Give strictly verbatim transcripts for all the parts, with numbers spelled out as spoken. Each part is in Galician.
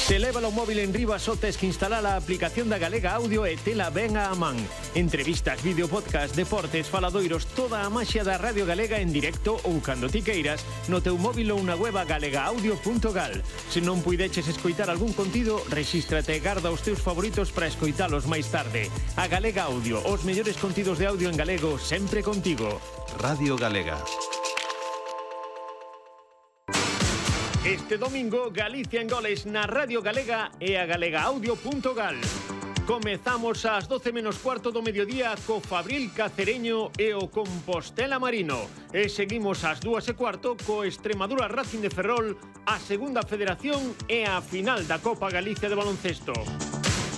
Se leva o móvil en riba só tes que instalar a aplicación da Galega Audio e tela ben á man. Entrevistas, vídeo, podcast, deportes, faladoiros, toda a maxia da Radio Galega en directo ou cando ti queiras no teu móvil ou na web galega audio punto gal. Se non puideches escoitar algún contido, rexístrate e garda os teus favoritos para escoitalos máis tarde. A Galega Audio, os mellores contidos de audio en galego sempre contigo. Radio Galega. Este domingo, Galicia en goles na Radio Galega e a galega audio punto gal. Comezamos ás doce menos cuarto do mediodía co Fabril Cacereño e o Compostela Marino. E seguimos ás dúas e cuarto co Extremadura Racing de Ferrol, a Segunda Federación e a final da Copa Galicia de baloncesto.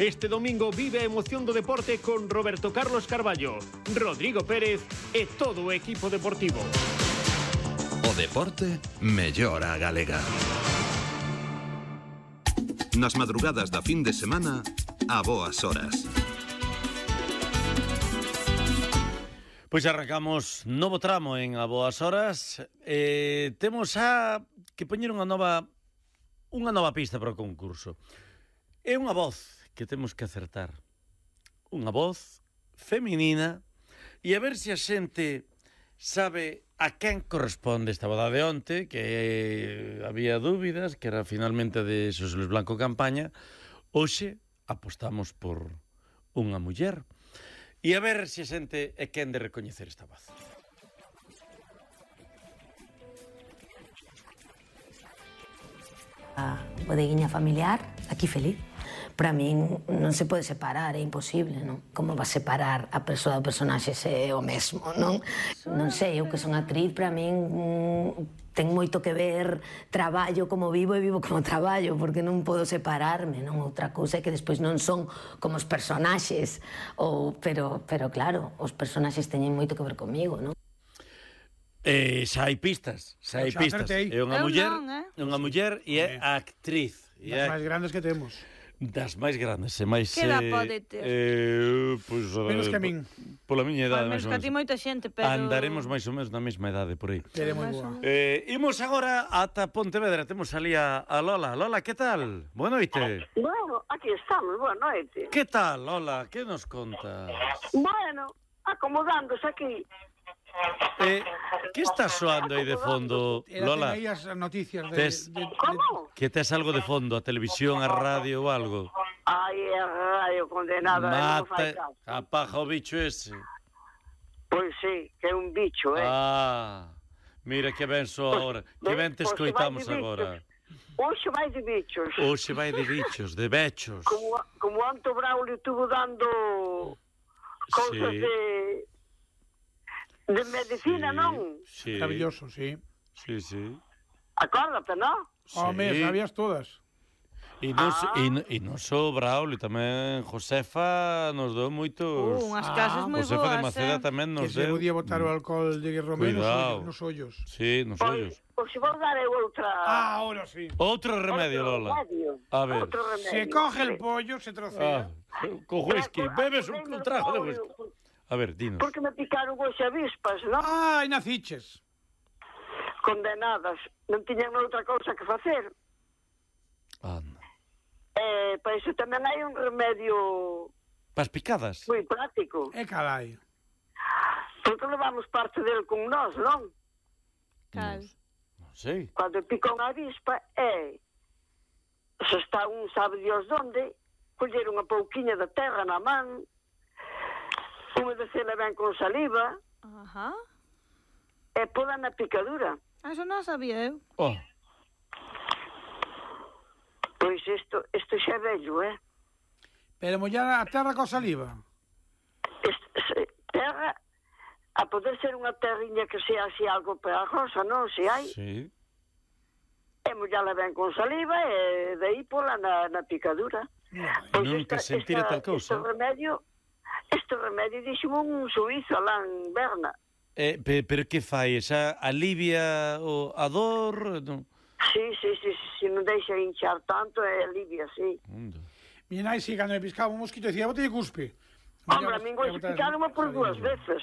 Este domingo vive a emoción do deporte con Roberto Carlos Carballo, Rodrigo Pérez e todo o equipo deportivo. O deporte mellora a galega. Nas madrugadas da fin de semana, a boas horas. Pois arrancamos novo tramo en A Boas Horas. Eh, temos a que poñer unha nova unha nova pista para o concurso. É unha voz que temos que acertar. Unha voz feminina e a ver se a xente sabe a quen corresponde esta boda de onte, que eh, había dúbidas, que era finalmente de Xosé Luis Blanco Campaña. Hoxe apostamos por unha muller. E a ver se a xente é quen de recoñecer esta voz. A bodeguinha familiar, aquí feliz. Para min non se pode separar, é imposible, non? Como va separar a persoa do personaxe se é o mesmo, non? Non sei, eu que son actriz, para min mm, ten moito que ver traballo como vivo e vivo como traballo, porque non podo separarme, non? Outra cousa é que despois non son como os personaxes, ou, pero, pero claro, os personaxes teñen moito que ver comigo, non? Eh, xa hai pistas, xa hai pistas. É unha muller, é unha muller e é actriz. Das máis grandes que temos. Das máis grandes e máis... Que edad pode ter? Eh, pues, menos que a min. Pola miña idade, máis ou menos. Que a ti moita xente, pero... Andaremos máis ou menos na mesma idade, por aí. Tere moi boa. Eh, imos agora ata Pontevedra. Temos ali a, a Lola. Lola, que tal? Boa noite. Bueno, aquí estamos, boa noite. Que tal, Lola? Que nos contas? Bueno, acomodándose aquí. Eh, que está soando aí de fondo, Lola? Era as noticias de, tes, de, de... Como? Que tes algo de fondo, a televisión, a radio ou algo? Ai, a radio condenada, non fai Mata, caso. apaga o bicho ese. Pois sí, que é un bicho, eh? Ah, mira que ben so agora, que ben te escoitamos agora. Hoxe vai de bichos. Hoxe vai de bichos, de bechos. Como, como Anto Braulio estuvo dando cousas Sí. de... de medicina, Sí, non? Sí. Maravilloso, sí. Sí, sí. Acórdate, non? Home, Sí. sabías todas. E non, Ah. e, non- e non só Braulio, tamén Josefa nos dou moitos... Uh, unhas Ah, casas moi Josefa de boas, Maceda eh? tamén Que nos se deu... podía botar o alcohol de Romero Cuidado. nos ollos. Sí, nos Pois, ollos. pois se vou dar eu outra... Ah, ahora sí. Outro remedio, outro Lola. remedio. A ver. Outro remedio. Se coge el pollo, se Ah, trocea. co whisky, bebes un, un trago de whisky. A ver, dinos. Porque me picaron hoxe avispas, non? Ai, naciches. Condenadas. Non tiñan outra cousa que facer. Anda. Eh, para iso tamén hai un remedio Pas picadas? moi práctico. E carai. Porque levamos parte del con nós, non? Cal. Non sei. Cando pica unha avispa é... Se está un sabe Dios donde, coller unha pouquiña de terra na man, humedecela ben con saliva, Ajá. e poda na picadura. Eso non sabía eu. Oh, Pois isto, isto xa é vello, eh? Pero mollar a terra co saliva. Est, se, terra, a poder ser unha terriña que sea así algo pegajosa, non? Se hai, sí. e mollala ben con saliva e de aí pola na, na picadura. Pois Nunca sentira tal cousa. Este remedio, este remedio dixo un suizo alá en Berna. Eh, pe, pero que fai? Esa alivia o, a dor? Non? Sí, sí, sí, sí, sí, non deixa hinchar tanto e alivia, sí. Onda. Mi nai, si, cando me piscaba un mosquito, decía, bote de cuspe. Hombre, a min gois picaronme por dúas veces.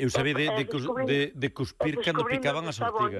Eu sabía de, E de, cus- descubrín- de, de cuspir e cando descubrín picaban que as estaba ortigas.